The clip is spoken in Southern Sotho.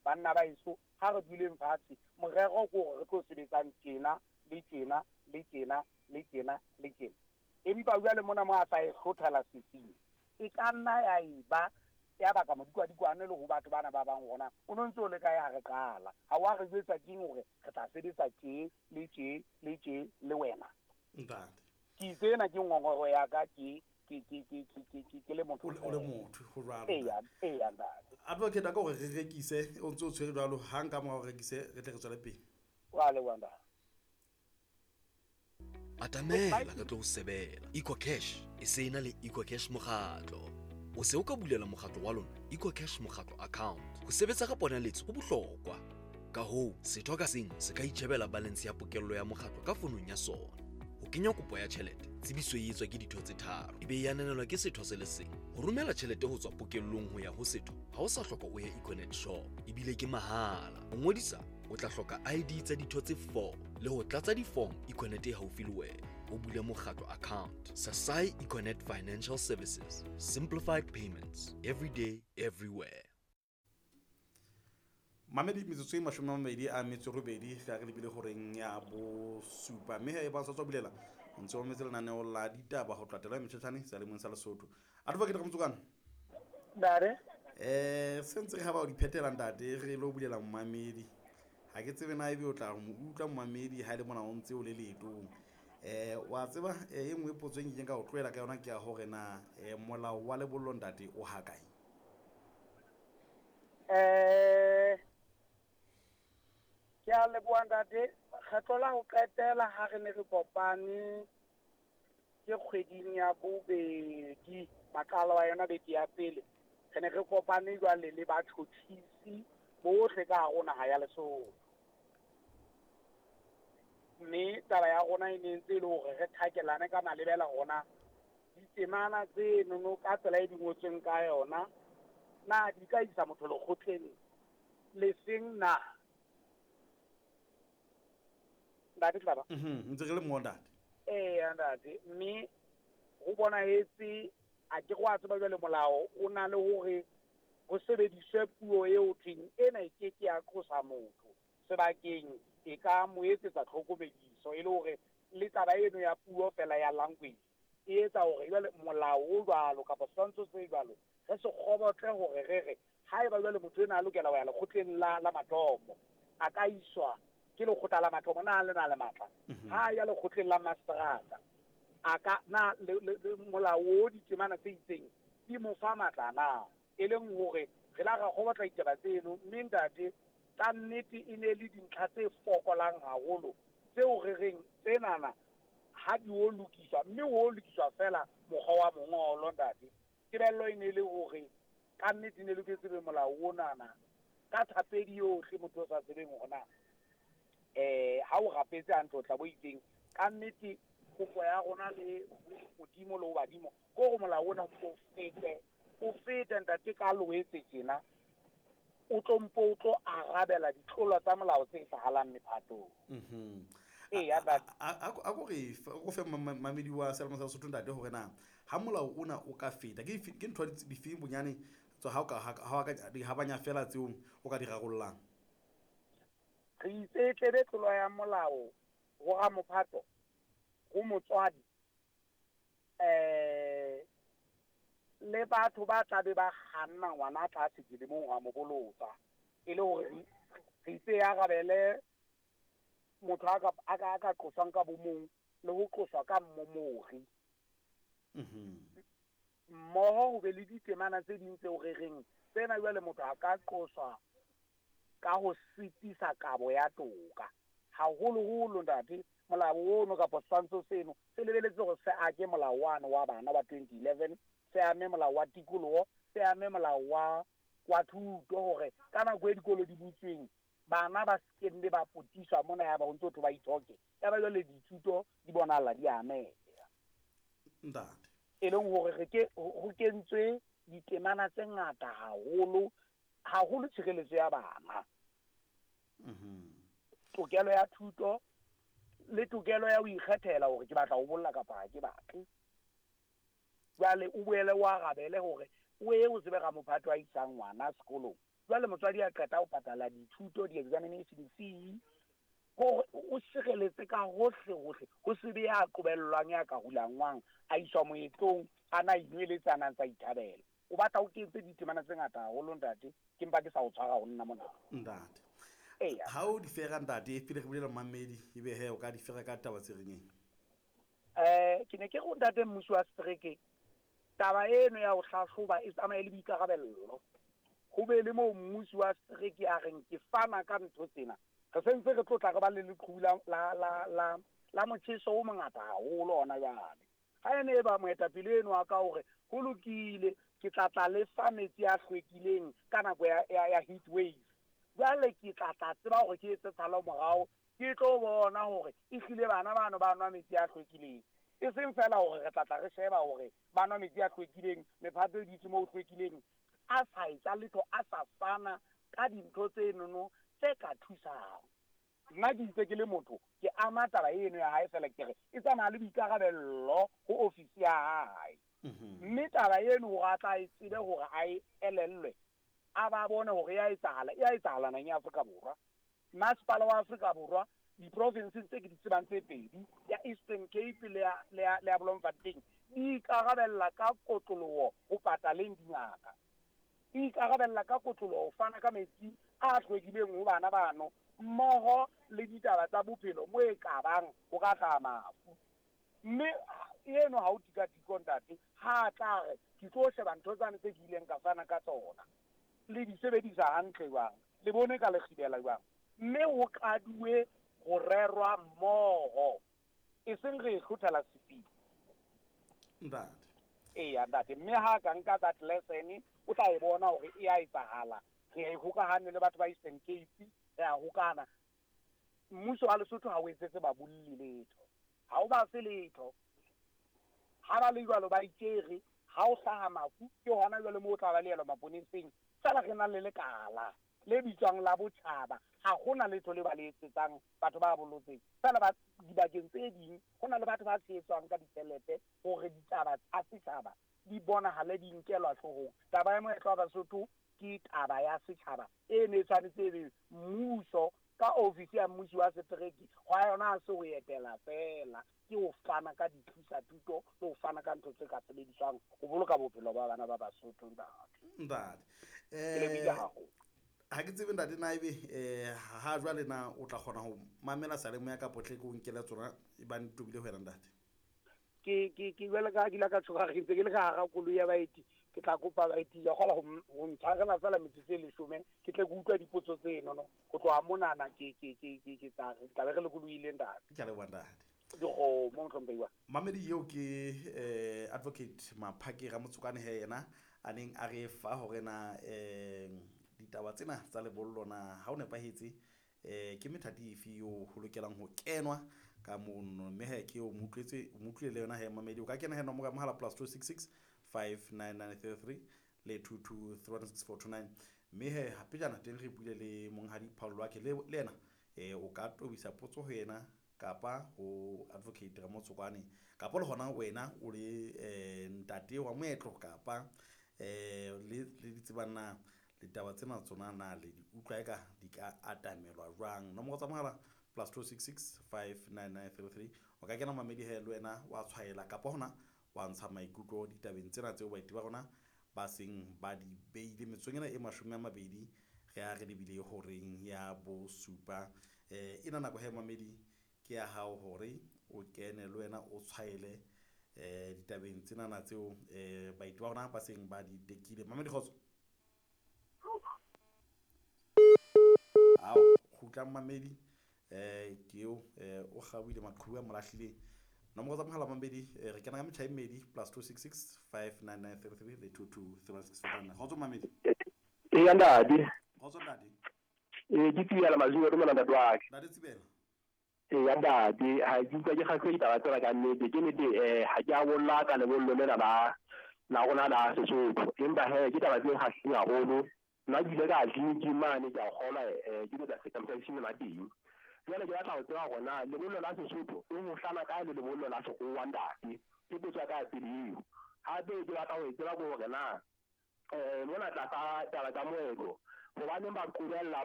Banna ba heso, ha re duleng fatshe, morero ke hore re tlo sebetsang tjena, le tjena, le tjena, le tjena, le tjena. Empa jwale mona mo a sa e hlothela sesing, e ka nna ya eba ya baka modikwadikwane le ho batho bana ba bang hore na o no ntse o le kae ha re qala. Ha wa re jwetsa keng hore re tla sebetsa tje, le tje, le tje le wena? Ntate. Ke itse ena ke ngongoro ya ka ke ke ke ke ke ke ke ke le motho O le o le motho ho jwalo. Eya, eya ntate. Advocate a ka hore re rekise o ntse o tshwere jwalo hang ka mora o rekise re tle re tswele pele. Wa leboha ntate. Atamela re tlo o sebela. EcoCash e se e na le EcoCash Mokgatlo. O se o ka bulela mokgatlo wa lona EcoCash Mokgatlo account. Ho sebetsa ka ponaletso ho bohlokwa. Ka hoo, setho ka seng se ka itjhebela balance ya pokello ya mokgatlo ka fonong ya sona. Ho kenya kopo ya tjhelete, tsebiso e etswa ke ditho tse tharo e be e ananelwa ke setho se le seng. Ho romela tjhelete ho tswa pokellong ho ya ho setho ha o sa hloka o ye Econet shop ebile ke mahala. Ho ngodisa o tla hloka ID tsa ditho tse 4 le ho tlatsa di-form Econet e haufi le wena. O bule mokgatlo account. Sasai Econet Financial Services. Simplified payments. Every day, everywhere. Mamedi metsotso e 28 ka re lebile horeng ya bosupa mme he e ba sa tswa bulela o ntse o mametse lenaneo la ditaba ho tlatela metšhetšhane sealemong sa Lesotho. Advocate Ramotsokane. Ntate. Se ntse re ha ba o di phethela ntate re lo bulela momamedi. Ha ke tsebe na ebe o tla mo utlwa momamedi ha e le mona o ntse o le leetong. Wa tseba e nngwe potso e nkileng ka o tlohela ka yona ke ya hore na molao wa lebollo ntate o ha kae? Ke a leboha ntate. Kgetlo la ho qetela ha re ne re kopane ke kgweding ya bobedi, maqalo a yona beke ya pele, re ne re kopane jwale le batjhotjhisi bohle ka hare ho naha ya Lesotho. Mme taba ya rona e ne ntse e le hore re thakelane ka malebela hore na ditemana tsenono ka tsela e di ngotsweng ka yona na di ka isa motho lekgotleng lefeng na? Ntate Tlaba. Ntse re le mo ntate. Eya ntate, mme ho bonahetse a ke go a tseba jwale molao o na le hore ho sebediswe puo eo thweng ena e ke ke ya qosa motho sebakeng e ka mo etsetsa tlhokomediso e le hore le taba eno ya puo fela ya language e etsa hore jwale molao o jwalo kapa setshwantsho se jwalo re se kgobotle hore re re haeba jwale motho ena a lokela ho ya lekgotleng la la mathomo a ka iswa ke lekgotla la mathomo na le na le matla ha ya lekgotleng la mastrata a ka na le molao o ditemana tse itseng di mo fa matla na e leng hore re la ra kgobotla ditaba tseno mme ntate ka nnete e ne le dintlha tse fokolang haholo tseo re reng tsenana ha di o lokiswa mme o lokiswa fela mokgwa wa mongolo ntate. Tebello e ne le hore ka nnete ne loketse be molao onana ka thapedi yohle motho o sa tsebeng hore na ha o rapetse hantle o tla bo itseng ka nnete kopo ya rona le Modimo le ho badimo ke hore molao ona o fete o fete ntate ka Loetse tjena o tlo mpo o tlo arabela ditlolo tsa molao tse hlahalang mephatong. Eya ntate. A ko re o fe mamedi wa Selemo sa Lesotho ntate hore na ha molao ona o ka feta ke ke ntho difeng bonyane tswa ha o ka ha ka di habanya fela tseo o ka di rarollang. Re itse tlebe tlolo ya molao ho ramophato ho motswadi le batho ba tla be ba kganna ngwana tlase dilemong ho mo bolotsa e le hore re itse arabele motho a ka qoswang ka bomong le ho qoswa ka mmomori. Mmoho ho be le ditemana tse ding tseo re reng tsena jwale motho a ka qoswa ka ho sitisa kabo ya toka. Haholoholo ntate molao ono kapa setshwantsho seno se lebeletse hore se ake molao wane wa bana wa 2011, se ame molao wa tikoloho, se ame molao wa thuto hore ka nako e dikolo di butsweng bana ba se ke ba potiswa mona ya ba ho ntso thwe ba ithoke. Ya ba jwale dithuto di bonahala di ameha. Ntate. E leng hore re ke ho kentswe ditemana tse ngata haholo haholo tshireletso ya bana. Tokelo ya thuto le tokelo ya ho ikgethela hore ke batla ho bolla kapa ha ke batle. Jwale o boele o arabele hore o ye o tsebe ramophato a isang ngwana sekolong. Jwale motswadi a qeta ho patala dithuto, di-examination fee, hore o sireletse ka hohle hohle, ho se be ya qobellwang ya ka hulangwang a iswa moetlong, a na inweletse a na ntsa ithabela. O batla o kentse ditemana tse ngata haholo ntate, ke mpa ke sa o tshwara ho nna mona. Ntate. Eya. Ha o di fera ntate, pele re bulela mmamedi, ebe he o ka di fera ka taba tse reng eng? Ke ne ke re ho ntate mmusi wa setereke, taba eno ya ho hlahloba e tsamaye le boikarabello. Ho be le moo mmusi wa setereke a reng ke fana ka ntho tsena. Re sentse re tlotla re ba le leqhubu la motjheso o mongata haholo hona jwale. Ha ene e ba moetapele eno wa ka hore ho lokile, ke tla tla le fa metsi a hlwekileng ka nako ya heat wave. Jwale ke tla tla tseba hore ke etse tshalo morao, ke tlo bona hore ehlile bana bano ba nwa metsi a hlwekileng. E seng fela hore re tla tla re sheba hore ba nwa metsi a hlwekileng, mephato e dutse moo hlwekileng, a sa etsa letho, a sa fana ka dintho tse nono tse ka thusang. Nna ke itse ke le motho, ke ama taba eno ya hae fela ke re e tsamaya le boikarabello ho ofisi ya hae. Mme taba eno hore a tla e tsebe hore a e elellwe, a ba bone hore ya etsahala, e a etsahala naheng ya Afrika Borwa. Masepala wa Afrika Borwa, diprofinseng tse ke di tsebang tse pedi, ya Eastern Cape le ya Bloemfontein, di ikarabella ka kotloloho ho pataleng dingaka. Di ikarabella ka kotloloho ho fana ka metsi a hlwekileng ho bana bano, mmoho le ditaba tsa bophelo mo e ka bang ho ka hlaha mafu. Mme eno ha o tikatiko ntate, ha tla re ke tlo sheba ntho tsane tse ke ileng ka fana ka tsona, le di sebedisa hantle jwang, le bone ka le kgibela jwang, mme ho qaduwe ho rerwa mmoho, e seng re e hlothela sefing. Ntate. Eya ntate, mme ha ka nka that lesson, o tla e bona hore e a etsahala. Re a e hokahane le batho ba Eastern Cape, re a hokana. Mmuso wa Lesotho ha o etsetse babolli letho, ha o ba fe letho. Ha ba le jwalo ba itjere, ha o hlaha mafu ke hona jwale moo o tla ba leelwa maponeseng. Feela re na le lekala le bitswang la botjhaba, ha hona letho le ba le etsetsang batho ba bolotseng. Feela ba dibakeng tse ding ho na le batho ba tshehetswang ka ditjhelete hore ditaba tsa setjhaba di bonahale di nkelwa hloohong. Taba ya moetlo wa Basotho ke taba ya setjhaba e ne e tshwanetse e be mmuso ka ofisi ya mmusi wa setereke, hwa yona ha se ho etela fela, ke ho fana ka dithusa-thuto le ho fana ka ntho tse ka sebediswang ho boloka bophelo ba bana ba Basotho, ntate. Ntate. Ke lebohile haholo. Ha ke tsebe ntate na ebe ha jwale na o tla kgona ho mamela seyalemoya kapa tle ke o nkele tsona e bang di tobile ho wena ntate? Ke jwale ka ha ke ile ka tshoha re ntse ke le ka hara koloi ya baeti, ke tla kopa baeti ya kgola ho ntshwarela fela metsotso e 10, ke tle ke utlwa dipotso tseno no. Ho tloha monana ke tla re tla be re lokolohile ntate. Ke a leboha ntate. Dikgomo mohlomphehi wa. Mamedi eo ke Advocate Maphake Ramotsokane he yena a neng a re fa hore na ditaba tsena tsa lebollo na ha o nepahetse ke methati efe eo ho lokelang ho kenwa ka mono, mme he ke o mo utlwetse, o mo utlwile le yona he mamedi. O ka kena he nomoro ya mohala +266 59933 le 22316429, mme he hape jana teng re buile le monghadi Paul Wake le yena o ka tobisa potso ho yena kapa ho Advocate Ramotsokwane, kapa le hona wena o le ntate wa moetlo kapa le di tsebang na ditaba tsena tsona na le di utlwa eka di ka atamelwa jwang. Nomoro tsa mohala +266 59933, o ka kena mamedi he le wena wa tshwaela kapa hona wa ntsha maikutlo ditabeng tsena tseo baeti ba rona ba seng ba di beile. Metsotsong ena e 20 re a re lebile horeng ya bosupa. Ena nako he mamedi ke ya hao hore o kene le wena o tshwaele ditabeng tsenana tseo baeti ba rona ba seng ba di tekile. Mamedi kgotso. Ao, kgutlang mamedi, ke eo o kgaohile maqhubu a mo lahlileng. Nomoro tsa mohala mamedi, re kena ka metjha e mmedi +266 59933 le 223164. Kgotso mamedi. Eya ntate. Kgotso ntate. Ke Tsibela Mazulu, dumela ntate wa ka. Ntate Tsibela. Eya ntate, ha ke utlwa ke kgahlwe ditaba tsena ka nnete. Ke nnete, ha ke a bolla ka lebollo lena la rona la Sesotho, empa he ke taba tse kgahlileng haholo. Nna ke ile ka tleliniking mane, ke a kgolwa, ke ile ka circumcision la teng. Jwale ke batla ho tseba hore na lebollo la Sesotho e ho hlana kae le lebollo la sekgowa ntate? Ke potso ya ka ya pele eo. Hape ke batla ho e tseba ke hore na mona tlasa taba tsa moetlo, Hobaneng ba qobella?